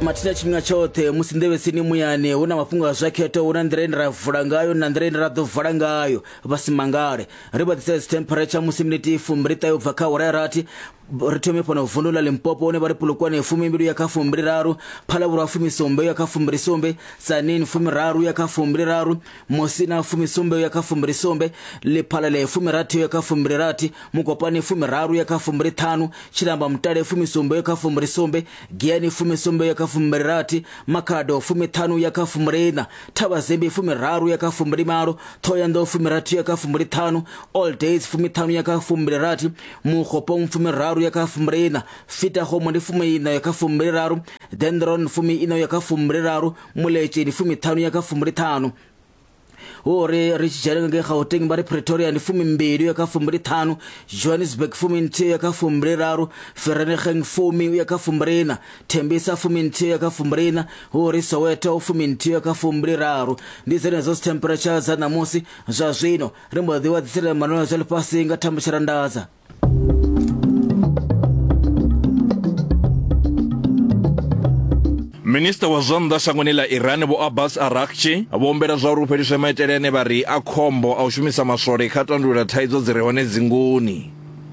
Mathina tshifhinga tshoṱhe musi nḓevhe tsini muyani hu na mafhungo a zwa khetho, hu na nḓila ine ra vula ngayo na nḓila ine ra ḓo vala ngayo. Vha si mangale. Ri vha ḓisela dzi temperature musi miniti fumbili ṱahe ubva kha awara ya rathi. Ri thome fhano vundu ḽa Limpopo hune vha ri Polokwane fumimbili uya kha fumbili raru, Phalaborwa fumisumbe uya kha fumbili sumbe, Tzaneen fumiraru uya kha fumbili raru, Musina fumisumbe uya kha fumbili sumbe, Lephalale fumirathi uya kha fumbili rathi, Mokopane fumiraru uya kha fumbili ṱhanu, Tshilamba Mutale fumisumbe uya kha fumbili sumbe, Giyani fumisumbe uya kha fumbili rathi, Makhado fumiṱhanu uya kha fumbili iṋa, Thabazimbi fumiraru uya kha fumbili malo, Thohoyandou fumirathi uya kha fumbili ṱhanu, All Days fumiṱhanu uya kha fumbili rathi, Mokgopong fumiraru uya kha fumbili iṋa, Fitagomo ndi fumi iṋa uya kha fumbili raru, Dendron fumi iṋa uya kha fumbili raru, Muletše ndi fumiṱhanu uya kha fumbili ṱhanu. Hu uri ri tshi dzhena ngei Gauteng vha ri Pretoria ndi fumimbili uya kha fumbili ṱhanu, Johannesburg fuminthihi uya kha fumbili raru, Vereeniging fumi uya kha fumbili iṋa, Tembisa fuminthihi uya kha fumbili iṋa, hu uri Soweto fuminthihi uya kha fumbili raru. Ndi dzenedzo dzi temperature dza ṋamusi. Zwa zwino ri mbo ḓi wa ḓisela manwelo zwa ḽifhasi nga Thambo Tshirandadza. Minisiṱa wa zwa nnḓa shangoni ḽa Iran Vho Abbas Araghchi vho humbela zwa uri hu fheliswe maitele ane vha ri a khombo a u shumisa maswole kha tandulula thaidzo dzi re hone dzinguni.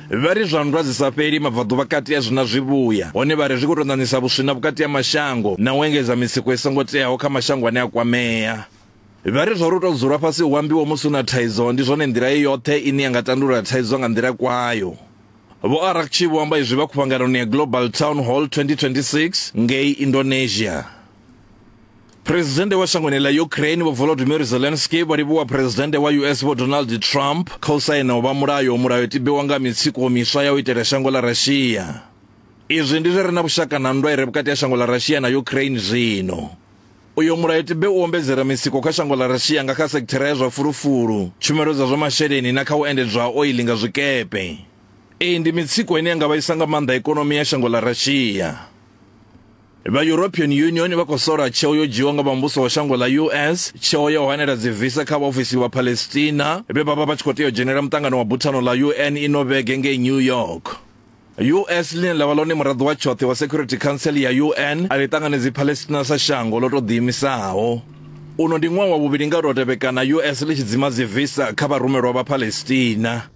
Vha ri zwa nndwa dzi sa fheli mabvaḓuvha kati a zwi na zwivhuya, hone vha ri zwi khou tou ṋaṋisa vhuswina vhukati ha mashango na u engedza mitsiko i songo teaho kha mashango ane a kwamea. Vha ri zwa uri u tou dzula fhasi hu ambiwe musi hu na thaidzo ndi zwone nḓila i yoṱhe ine ya nga tandulula thaidzo nga nḓila kwayo. Vho Araghchi vho amba izwi vha khuvhanganoni ya Global Town Hall 2026 ngei Indonesia. Phresidennde wa shangoni ḽa Ukraine Vho Volodymyr Zelensky vho livhuwa Phresidennde wa US Vho Donald Trump kha u saina u vha mulayo mulayotibe wa nga mitsiko miswa ya u itela shango ḽa Russia. Izwi ndi zwi re na vhushaka na nndwa i re vhukati ha shango ḽa Russia na Ukraine zwino. Uyo mulayotibe u ombedzela mitsiko kha shango ḽa Russia nga kha sekithara ya zwa fulufulu, tshumelo dza zwa masheleni na kha u endedzwa ha oiḽi nga zwikepe. Iyi ndi mitsiko ine ya nga vhaisa nga maanḓa ikonomi ya shango ḽa Russia. Vha European Union vha khou sola tsheo yo dzhiiwa nga vha muvhuso wa shango ḽa US, tsheo ya u hanela dzivisa kha vhaofisi vha Palestina vhe vha vha vha tshi khou tea u dzhenela muṱangano wa buthano ḽa UN ino vhege ngei New York. US ḽine ḽa vha ḽone muraḓo wa tshoṱhe wa Security Council ya UN a ḽi ṱanganedzi Palestina sa shango ḽo tou ḓiimisaho. Uno ndi ṅwaha wa vhuvhili nga u tou tevhekana US ḽi tshi dzima dzivisa kha vharumelwa vha Palestina.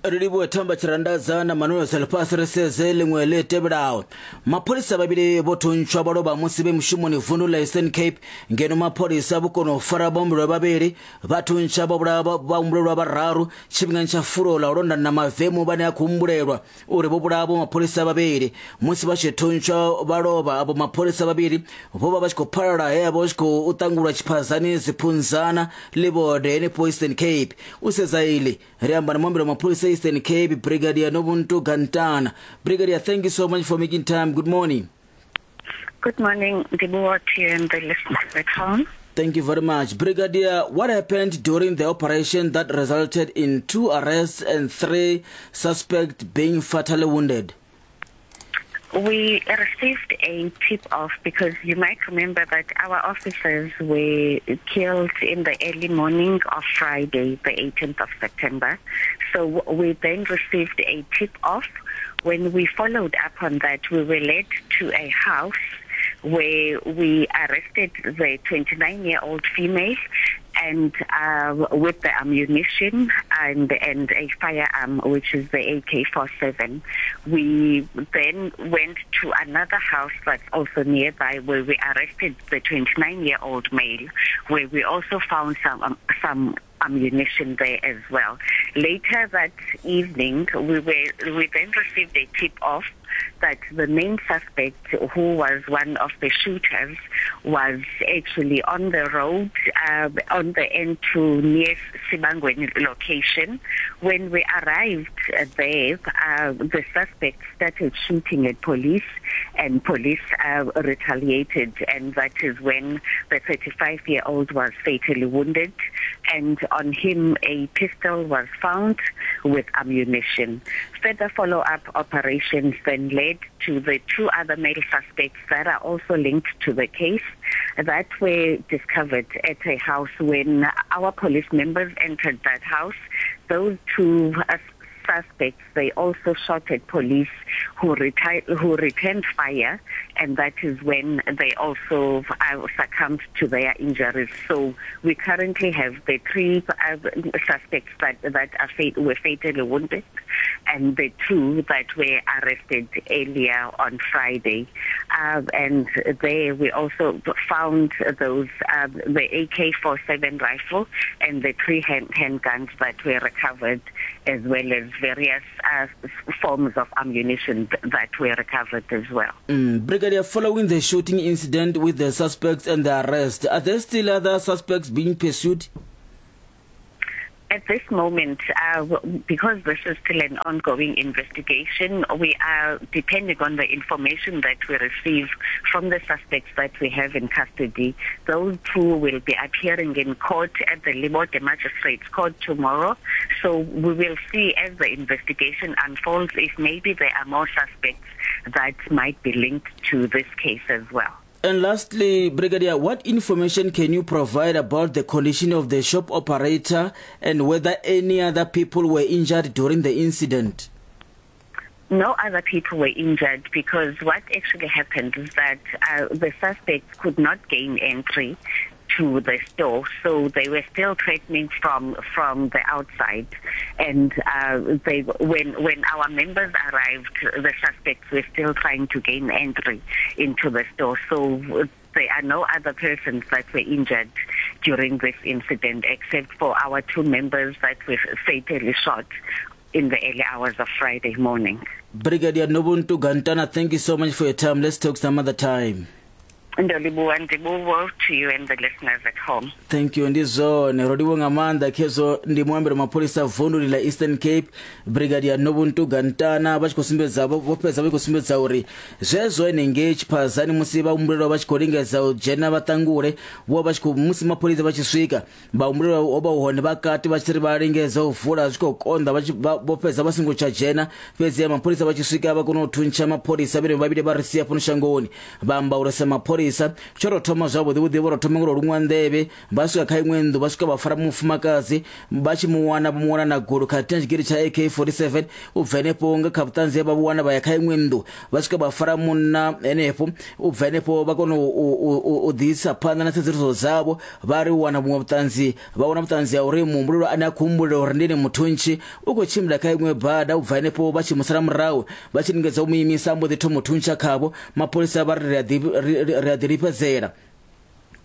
Ri livhuwe Thamba Tshirandadza na Manuel Selfasi. Ri sedze ḽiṅwe ḽi tevhelaho. Mapholisa vhavhili vho thuntshwa vha lovha musi vhe mushumoni vundu ḽa Eastern Cape, ngeno mapholisa vho kona u fara vhahumbulelwa vhavhili vha thuntsha vha vhulaha vhahumbulelwa vhararu tshifhingani tsha fulo ḽa u londa na mavemu vhane a khou humbulelwa uri vho vhulaha vho mapholisa vhavhili. Musi vha tshi thuntshwa vha lovha, avho mapholisa vhavhili vho vha vha tshi khou phalala he vha vha tshi khou ṱangulwa tshiphazani Ziphunzana Ḽivhode henefho Eastern Cape. U sedza iḽi Ri amba na muambeli wa mapholisa Eastern Cape, Brigadier Nobuntu Gantana. Brigadier, thank you so much for making time. Good morning. Good morning, Ndibuwa, to you and the listeners at home. Thank you very much. Brigadier, what happened during the operation that resulted in 2 arrests and 3 suspects being fatally wounded? We received a tip-off because you might remember that our officers were killed in the early morning of Friday, the 18th of September. So we then received a tip-off. When we followed up on that, we were led to a house where we arrested the 29-year-old female and with the ammunition and a firearm, which is the AK-47. We then went to another house that's also nearby where we arrested the 29-year-old male, where we also found some ammunition there as well. Later that evening, we then received a tip-off that the main suspect, who was one of the shooters, was actually on the road, on the N2 near Sibangweni location. When we arrived there, the suspect started shooting at police, and police retaliated, and that is when the 35-year-old was fatally wounded, and on him a pistol was found with ammunition. Further follow-up operations then led to the 2 other male suspects that are also linked to the case that were discovered at a house. When our police members entered that house, those 2 suspects, they also shot at police who, who returned fire, and that is when they also succumbed to their injuries. So we currently have the three suspects that, that are were fatally wounded and the two that were arrested earlier on Friday. And there we also found those the AK-47 rifle and the three hand, handguns that were recovered, as well as various forms of ammunition that were recovered as well. Brigadier, following the shooting incident with the suspects and the arrest, are there still other suspects being pursued? At this moment, because this is still an ongoing investigation, we are depending on the information that we receive from the suspects that we have in custody. Those two will be appearing in court at the Libode Magistrates Court tomorrow. So we will see as the investigation unfolds if maybe there are more suspects that might be linked to this case as well. And lastly, Brigadier, what information can you provide about the condition of the shop operator and whether any other people were injured during the incident? No other people were injured because what actually happened is that the suspects could not gain entry to the store, so they were still threatening from from the outside. And they, when when our members arrived, the suspects were still trying to gain entry into the store. So there are no other persons that were injured during this incident except for our two members that were fatally shot in the early hours of Friday morning. Brigadier Nobuntu Gantana, thank you so much for your time. Let's talk some other time. Ndo livhuwa ndivhuwo to you and the listeners at home. Thank you ndi zwone ro livhuwa nga maanḓa khezwo ndi muambeli wa mapholisa vunduni ḽa Eastern Cape Brigadier Nobuntu Gantana vha tshi khou sumbedza vho fhedza vha tshi khou sumbedza uri zwezwo henengei tshiphazani musi vhahumbulelwa vha tshi khou lingedza u dzhena vha ṱangule vho vha tshi khou musi mapholisa vha tshi swika vhahumbulelwa ho vha hu hone vha kati vha tshi ri vha lingedza u vula zwi khou konḓa vha tshi vho fhedza vha songo tsha dzhena fhedzi mapholisa vha tshi swika vha kona u thuntsha mapholisa vhene vhavhili vha ri sia fhano shangoni vha amba uri sa mapholisa tsho tou thoma zwavhuḓi vhuḓi vho tou thoma ngo luṅwa nḓevhe vha swika kha iṅwe nnḓu vha swika vha fara mufumakadzi vha tshi mu wana vho mu wana na gulu khathihi na tshigidi tsha AK47 u bva henefho nga kha vhuṱanzi he vha vhu wana vha ya kha iṅwe nnḓu vha swika vha fara munna henefho u bva henefho vha kona u ḓisa phanḓa na tsedzuluso dzavho vha ri wana vhuṅwe vhuṱanzi vha wana vhuṱanzi ha uri muhumbulelwa ane a khou humbulela uri ndi ene muthuntshi u khou tshimbila kha iṅwe bada u bva henefho vha tshi musala murahu vha tshi lingedza u mu imisa mbo ḓi thoma u thuntsha khavho mapholisa vha ri ri a ḓilifhedzela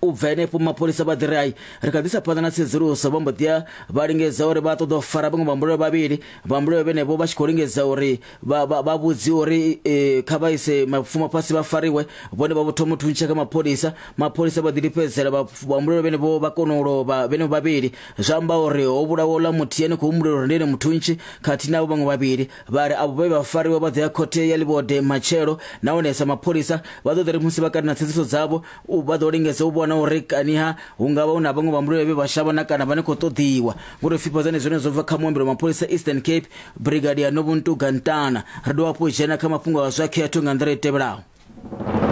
u bva henefho mapholisa vha ḓi ri ai ri kha ḓisa phanḓa na tsedzuluso vha mbo ḓi ya vha lingedza uri vha ṱoḓa u fara vhaṅwe vhambulelo vhavhili vhambulelo vhenevho vha tshi khou lingedza uri vha vha vha vhudziwe uri e, kha vha ise mapfumo fhasi vha fariwe vhone vha vho thoma u thuntsha kha mapholisa mapholisa vha ḓi lifhedzela vhambulelo vhenevho vha kona u lovha vhenevho vhavhili zwa amba uri ho vhulawa uḽa muthihi ane khou humbulela uri ndi ene muthuntshi khathihi navho vhaṅwe vhavhili vha ri avho vhe vha fariwa vha ḓo ya khothe ya Libode matshelo nahone sa mapholisa vha ḓo ḓi ri musi vha kati na tsedzuluso dzavho vha ḓo lingedza u vhona uri kaniha hu nga vha hu na vhaṅwe vhambuleli vhe vha shavha na kana vhane khou ṱoḓiwa ngori fhifhadzani zwone zwo bva kha muambeli wa mapholisa Eastern Cape Brigadier Nobuntu Gantana ri dovha hafhu dzhena kha mafhungo a zwa khetho nga nḓila i tevhelaho.